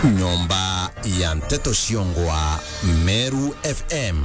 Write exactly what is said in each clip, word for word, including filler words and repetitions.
Nyomba ya nteto ciongwa Meru F M.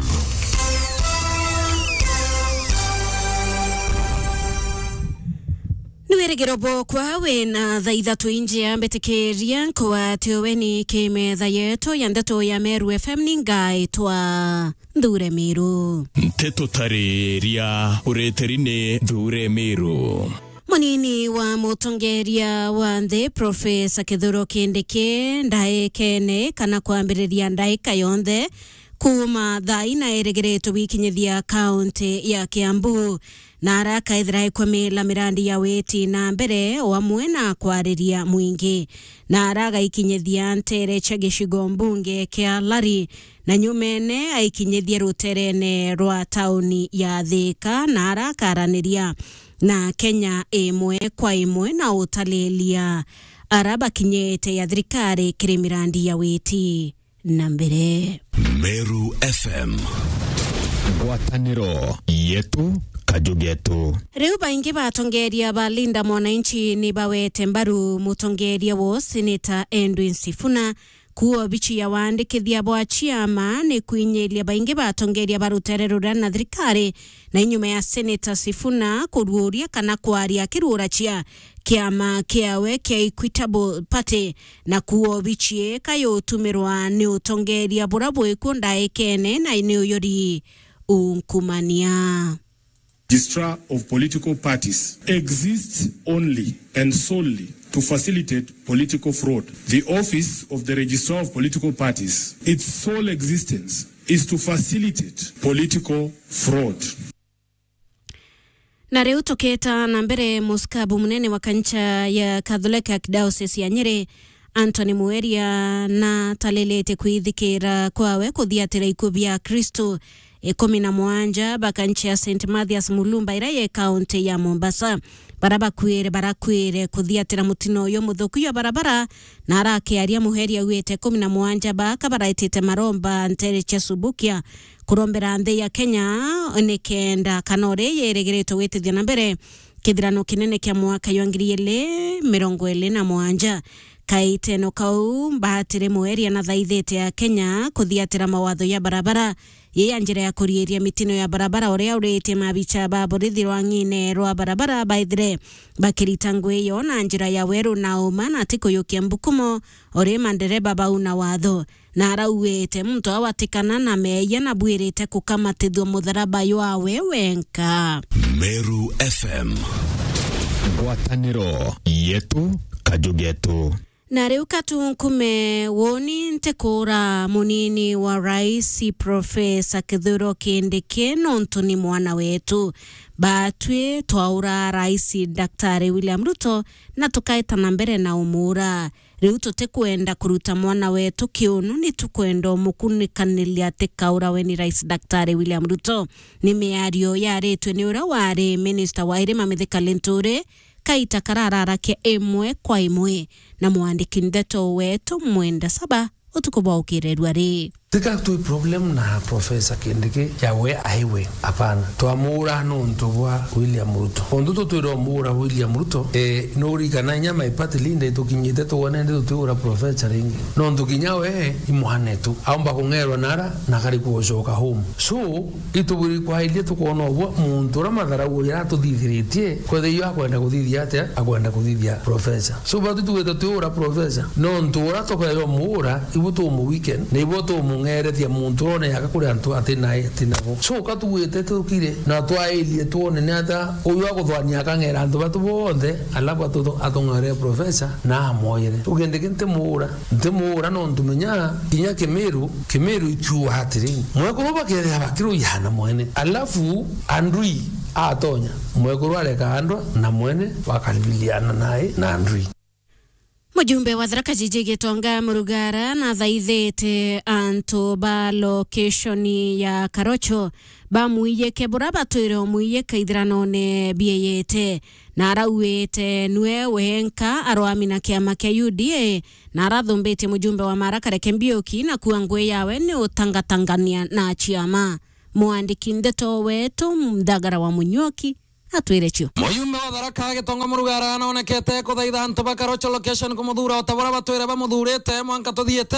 Ni wirigiro bwokwa wina thaa ithatu injia mbitikiria nkwatio weni ki metha yetu ya nteto ya Meru F M, ni ngaitwa Nthure Miru. Nteto tariria ureteri ni Nthure Miru. Munini wa mutongeria wa nthi, Profesa Kithure Kindiki, ndaikene kana kwambiriria ndaika yonthe kuuma thaa ina erigiritwe gwikinyithia kaunti ya Kiambu, na ara akaithira aikumila mirandi ya witi na mbere o amwe na kwariria mwingi, na ara agaikinyithia ntere cia gicigo mbunge kia Lari, na nyumene aikinyithie ruterene rwa tauni ya Thika, na ara akaraniria na Kenya imwe kwa imwe na utalilia ara bakinyite ya thirikari kiri mirandi ya witi na mbere. Meru F M. Ngwataniro yetu, kaju getu. Riu baingi batongeria ba Linda Mwananchi ni bawete mbaru mutongeria wo Senator Edwin Sifuna, kuo obici ya wandikithia bwa ciama ni kwinyiria baingi batongeria ba rutere ruria na thirikari, na inyuma ya Senator Sifuna kuruuria kana kwaria akiruura cia kiama kiawe kia Equitable Party, na kuo obici ii kayutumirwa ni utongeria bura bwikuo ndaikene na ni uyuri unkumania. Registrar of Political Parties exists only and solely to facilitate political fraud. The office of the Registrar of Political Parties, its sole existence is to facilitate political fraud. Na riu tuketa na mbere, muskabu munene wa kanisa ya Catholic Archdiocese ya Nyeri, Anthony Mueria, natalilite kwithikira kwawe kuthiatira ikuu bia Akristu ikumi na mugwanja ba kanisa ya Saint Mathias Mulumba iria yi kaunti ya Mombasa, baria bakuire, barakuire kuthiatira mutino uyu muthuku jwa barabara, na arakiaria Mueria augite ikumi na mugwanja baka baraitite maromba ntere cia Subukia kurombera nthi ya Kenya nikenda kana uria yirigiritwe gwitithia na mbere kithirano kinene kia mwaka jwa ngiri igiri mirongo iri na mugwanja. Kaiteno kau, mbatiri Mueria nathaithite Akenya kuthiatira mawatho ya barabara, yi ya njira ya kuriiria mitino ya barabara uria uritie mabicha ba borithi rwang'ine rwa barabara baithire bakirita ngugi yo na njira ya weru na uma na ti kuyukia mbukumo uri mandereba bau na watho. Na araugite muntu awatikana na meeyia na bwirite kukamatithua mutharaba jwawe wenka. Meru F M. Ngwataniro yetu, kaju getu. Na riu ka tunkume woni, ntikuura munini wa rais Profesa Kithure Kindiki nontu ni mwana wetu. Batwi twaura rais Daktari William Ruto na tukaita na mbere na umuura. Riu tutikwenda kuruta mwana wetu kiunu, ni tukwenda umukunikaniria ati kaurawe ni Rais Daktari William Ruto. Ni miario yaritwe ni uria wari minista wa irima Mithika Linturi, kaita karararakia imwe kwa imwe na mwandiki ndeto wetu Mwenda Saba utuku bwa ukirerua ri. Tika twi problem na Professor Kindiki ya we aiwe. Hapana. Twamuura nontu bwa William Ruto. Untu tutwira umuura William Ruto, eh, nurikana inya my party leader itukinyite tuone ndi tutiura Professor ringi. Nontu kinya we i mwanetu. Aumba kung'erwa nara na kari kucoka home. So, ituburi kwairie tukona ubwo muntu uria matharau uria atuthithiritie, kwethira iyo akwenda kuthithia atia, akwenda kuthithia Professor. So, batu twita twiura Professor, nontu uria tukayo muura, ibu tumu weekend, na ibu tumung'erethia muntu uria oneaga kuri antu ati nae, ati nabo. So, ka tugwite tukire, na twairie twone ni ata uyu aguthwania akang'era antu batu bonthe, alafu atu-, atung'ere Professor, na amwoyere. Ugende ki ntimuura, ntimuura nontu menya, kinya Kimiru, Kimiru ikiuga atiri, mwekuru bakethira bakiruyana mwene, alafu andui atonya, mwekuru areka andwa na mwene bakaribiliana nae na andui. Mujumbe wa Tharaka Jiji Gitonga Murugara nathaithite antu ba location ya Karocho bamwiyike bura batwire umwiyika ithiranone bieyete, na arauite nue wenka aroami na kiama kia U D A, na arathumbitie mujumbe wa Mara Kareke Mbiuki na kuuga ngugi yawe ni utangatangania na ciama. Mwandiki ndeto wetu Mthagara wa Munyuoki atwire cio. Muyumbe wa Tharaka Gitonga Murugara anonekete kuthaitha antu ba Karocho location kumuthuura o ta buria batwire bamuthurite mwanka tuthiite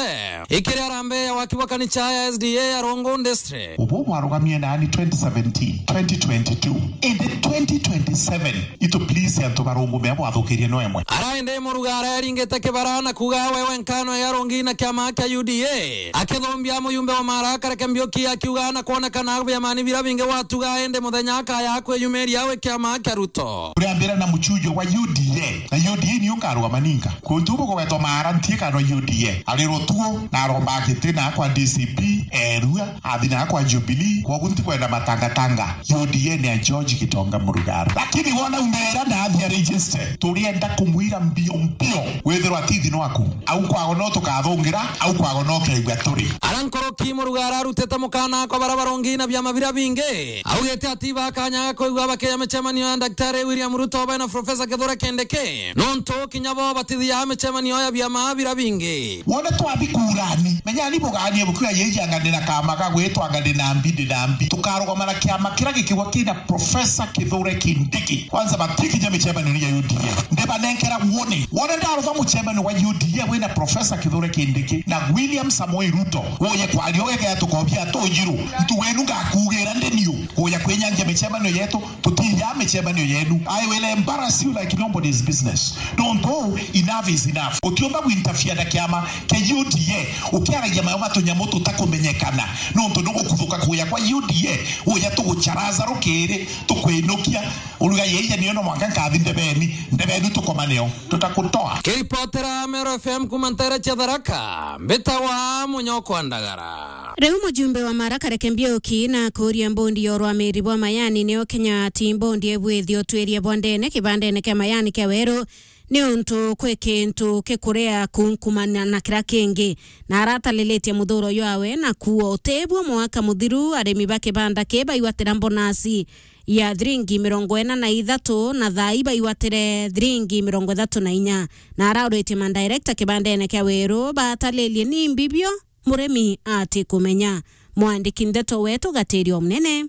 ikiri arambe ya waki bwa kanicha ya S D A ya Rongo District. Ubu bwarugamie naani twenty seventeen, twenty twenty-two, indi twenty twenty-seven itu please antu ba Rongo mea bwathukirie no emwe. Ara indi Murugara eringite kibara na kuuga we we nkano ya Rongi na kiama kia U D A. Akithombia muyumbe wa Mara Kareke Mbiuki akiuga na kwonekana biamani bira bingi watuga indi muthenya akaya kwiyumiria we kiama kia Ruto. Uriambira na muchujo wa U D A, na U D A ni ukarugama ninka. Kuntu buko wetwa Mara ntie kana U D A. Ari Rutuo na aromba giti na kwa D C P, erua, athi na kwa Jubilee, kwogu ntikwenda matangatanga. U D A ni ya George Gitonga Murugara. Lakini wona umera na athi a register, turienda kumwira mbio mbio. Withirwa atithi nwaku. Au kwago no tukathungira, au kwago no keigua turi. Ara nkoroki Murugara arutite mukana kwa bara barongi na biama bira bingi. Augite ati bakanya kwigua bakeya micemanio ya Daktari William Ruto bana Professor Kithure Kindiki. Nontu kinya bo batithia micemanio ya biama bira bingi. Wone twathi kurani, menyani buganie bukiwa yeija ng'ani na kama gagwitwa ng'ani na mbi, ndi na mbi. Tukarugama na kiama kira gikigwa kina Professor Kithure Kindiki. Kwanza batikinya micemanio ya U D A. Ndibanenkera warning. Wone ndaruga mucemanio wa U D A wina Professor Kithure Kindiki na William Samoei Ruto. Uye kwaria ugegea tukobia tujiru. Ntu wenu ngakugira ndinio. Uya kwinyangia micemanio yetu. Tutiiya micemanio yenu. I will embarrass you like nobody's business. Nontu enough is enough. Utiumba gwinterfere na kiama kia U D A ukiaragia mayo ma tunyamu tutakumenyekana. Nontu nugukuthuka kuya kwa U D A, uya tugucharaza rukiri, tukwinukia. Uruga yeija niyo no mwanka nkathi ndebeni, ndebeni tukomaneo, tutakutoa. Kiripotera Meru F M kuma ntere cia Tharaka, mbitawa Munyokwa Ndagara. Riu mujumbe wa Mara Kareke Mbiuki na kuuria mbondi ya urwamiri bwa majani niyo Kenya Tea Board ebwithia utwiria bwa ndene kibandene kia majani kia Weru, niuntu kwi kintu kikuria kunkumana na kira kingi, na aratalilitie muthuro jwawe na kuuga utibwo mwaka muthiru arimi ba kibanda ki baigwatira mbonasi ya thiringi mirongo ina na ithatu na thaa ii baigwatire thiringi mirongo ithatu na inya, na arauritie madirector kibandene kia Weru batalilie ni mbi bio. Murimi ati kumenya. Mwandiki ndeto wetu Gatirio Munene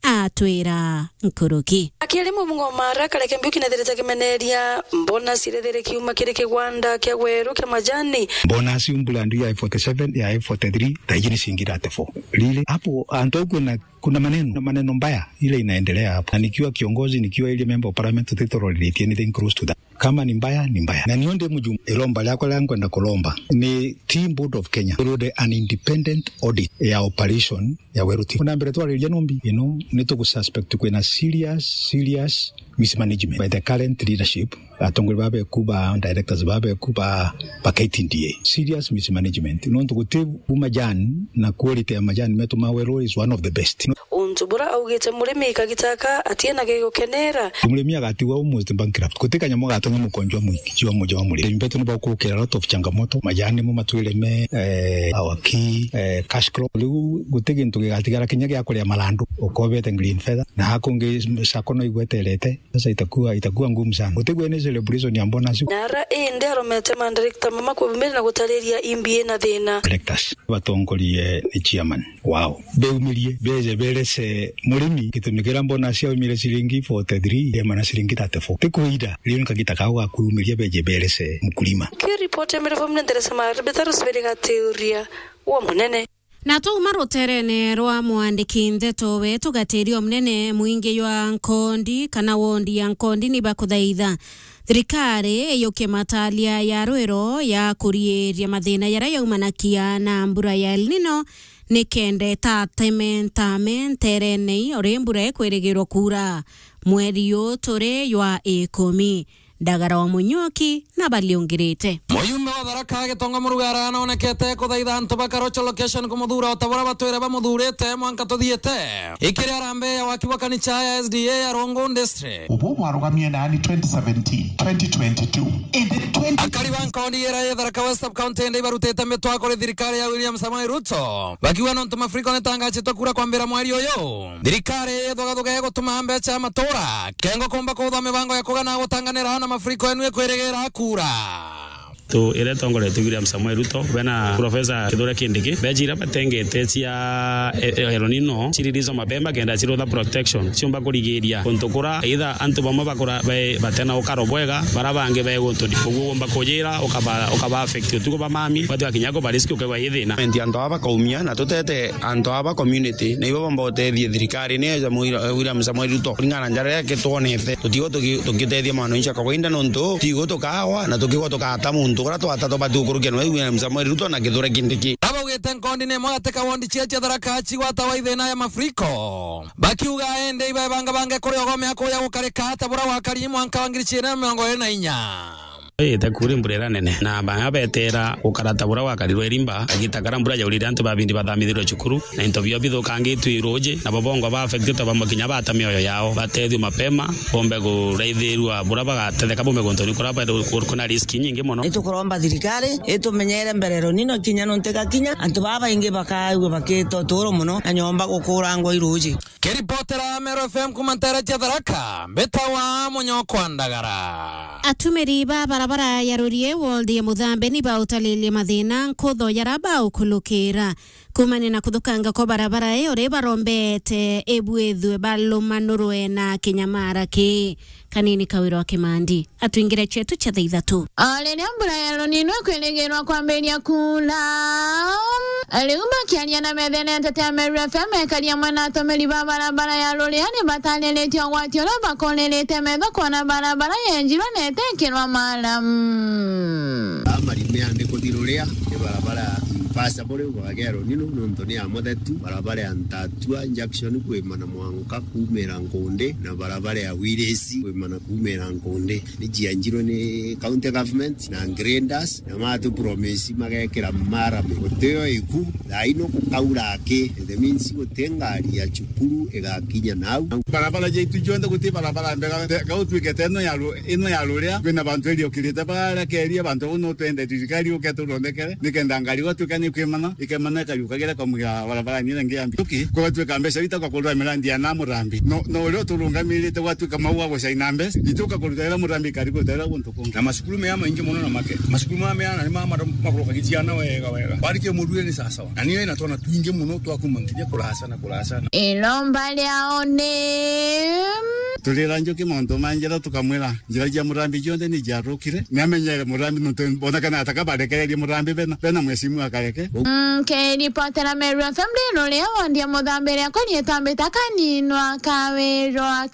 atwira nkuruki. Akiri mubungo Mara Kareke Mbiuki nethirite akimeneria mbonasi irethire kiuma kiri kigwanda kia Weru kia majani. Mbonasi umbula ndu ya forty seven, ya forty three, thaiji ni ciringi thirty-four. Really? Hapo antu au kuna, kuna maneno, maneno mbaya ile inaendelea hapo. Na nikiwa kiongozi, nikiwa ile member of parliament, tutitolerate anything close to that. Kama ni mbaya, ni mbaya. Na nio ndi mujumbe, iromba riakwa riria nkwenda kuromba ni Tea Board of Kenya irude an independent audit ya operation ya Weru Tea. Kuna mbere twariria nombi, you know, ni tugususpect kwina serious, serious mismanagement by the current leadership, atongori babeku ba directors babeku ba, ba K T D A. Serious mismanagement. Nontu guti bu majani na quality ya majani metu ma Weru is one of the best. Untu bura augite murimi kagita aka atiena gigukenera. Murimi agatigwa almost bankrupt. Guti kanyamu gatong'e mukonjwa mwiki, jwa muja wa murimi. Mbetu ni bakukira a lot of changamoto. Majani mo matwire me, eh, our key, eh, cash crop. Riu guti gintu gigatigara kinya gia kuria marandu. Ukobete green feather. Na hakungi sako no igweterete. Sasa itakuwa, itakuwa ngumu sana. Gutigwe ni celebration ya mbona siku. Nara indi aromete mandirector mama kubumira na gutariria imbi ina thina. Directors batongorie ni chairman wao. Beumirie, beje berese murimi, gitumi kiria mbona cia umire ciringi forty three, yema na ciringi thirty-four. Ti kuira, riu ni kagita kao ga kuumiria beje berese mkulima. Ki report ya Meru F M nderese ma Rebeta Rosemary Gatiuria wa Munene. Na twauma ruterene rwa mwandiki ndeto wetu Gatirio Munene, mwingi jwa nkondi kana wondi ya nkondi ni bakuthaitha thirikari iyukie matalia ya rwiro ya kuriiria mathina jaria yaumanakia na mbura ya El Nino, nikenda itateme ntame nterene ii uri mbura ikwirigirwa kuura mweri uu turi jwa ikumi. Ndagara wa Munyuki na baliungirite. Muyumbe wa Tharaka Gitonga Murugara anonekete kuthaitha antu ba Karocho location kumuthuura o ta buria batwire bamuthurite mwanka tuthiite ikiri arambe ya waki bwa kanicha ya S D A ya Rongo District. Ubu bwarugamie naani twenty seventeen, twenty twenty-two, indi twenty. Akari ba nkondi ira ya Tharaka West Sub-County indi ibarutite mitwa kuri thirikari ya William Samoei Ruto, bakiuga nontu mafuriko nitangacitwe kuura kwambira mweri uyu, thirikari ithugathuge gutuma mbeca ya matuura kengo kumba kuthwa mibango ya kugana gutanganira na mafuriko enu ikwirigira kuura. Tu iria itongoretue William Samoei Ruto, bena Professor Kithure Kindiki, beejire batengete cia, e, e, El Nino, ciririzo mapema kenda cirutha protection, ciumba kurigiria kuntu kura, either antu bamwe bakura, be, batena ukaro bwega, bara bangi be guntu ndi. Uguo umba kujira, ukaba, ukaba affect utuku ba mami, batu akinya ku bariski ukegwa i thina. Enti antu aba bakaumia, na tutete antu aba community, na ibo bomba utethie thirikari, ni eja Muira-, William Samoei Ruto, kuringana na njara iria kitwonete. Tutigo tuki-, tukitethia mwananchi wa kawaida nontu, tigo tukawa, na tukigo tukata muntu, uria twata tubati gukurukia niwe William Samoei Ruto na Kithure Kindiki. Abaugite nkondi ni imwe gati ka wondi cia cia Tharaka cigwatawa i thina ya mafuriko. Bakiuga indi ibebangabange kuri ogomea kuja gukarika ata bura gwakari mwanka wa ngiri ciiri na mirongo iiri na inya. Ite kuri mbura iria nene, na baa betera gukara ta bura gwakarirwe Irimba, agita kara mbura yaurire antu babindi bathamithirwe cukuru, na into bio bithukangitwe i ruuji, na bo bongwa ba affected bamwe kinya bata mioyo yao, batethio mapema, bombe kuraithirua bura bagatetheka bombe guntuni kura bari ku-, kuna risk nyingi mono. Itukuromba thirikari itumenyere mbere El Nino kinya nontu igakinya, antu baa baingi bakaigua bakita uturo mono, na nyomba gukurangwa i ruuji. Kiripotera Meru F M kuma ntere cia Tharaka, mbitawa Munyokwa Ndagara. Atumiri ba barabara ya Rurie ward ya Muthambe ni bautaririe mathina nkutho jaria baukulukira. Kumania na kuthukanga kwa barabara iyo ri barombete ibwithwe balumanurwe na kinyamara ki. Kanini Kawira wa Kimandi. Atwingire cietu cia thaa ithatu. O riria mbura ya El Nino ikwirigirwa kwambiria kuura, riu bakiaria na methene ya nteto ya Meru F M, ekari amwe na atumiri ba barabara ya Ruria ni batariritie ugwati uria bakuririte metho kwona barabara yenjirwe na itikirwa maram. Aa marime ya Ndikuthi Ruria ni barabara impassable riu gwake El Nino nontu ni ya muthetu, barabara ya Ntatua junction kwimana mwanka kumira Nkundi na barabara ya Wirisi kwimana kumira Nkundi. Ni cianjirwe ni county government na graders, na matu promise magekira marami. Gutio iku, thaa ino gukaura aki, it means guti ngari ya cukuru igakinya nau. Barabara jaitu jonthe, guti barabara mbega, te-, ga utwike ta ino ya Ru-, ino ya Ruria, kwina bantu iriukirite baria keria, bantu bau no twende thirikari uke tuthondekere, nikenda ngari gwatuika ni kwimana, ikemana ikariukagira kwa mwiga barabara ni ringi ya mbi. Tuki, gwatuika mbeca ita kwa kurura mirandi ya na murambi. No, no uria uturungamirite gwatuika mau gwa gucaina mbeca, ituka kuruta ira murambi ikari kuruta ira guntu kungi. Na macukuru mea maingi mono na make. Macukuru maya meana ni mama makurukagia ciana wega wega. Warikia murue ni sawa sawa. Na niyo ina twana twingi mono twa kuma nginya kurasa na kurasa. Iromba riao ni Turira Njuki mauntu ma njira, tukamwira njira cia murambi cionthe ni ciathukire. Ni amenyere murambi nontu bonekana ataka barekererie murambi bena, bena mwecimu akareke. Mm, kiripotera Meru F M ndi Ruria wondi ya Muthambe riakwa rietwa Mbita Kaninwa Kawirwa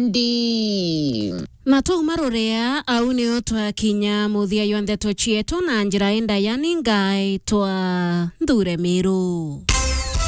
Kimandi. Na twauma Ruria, au nio twakinya muthia jwa ndeto cietu na njira indaya ni ngaitwa Nthure Miru.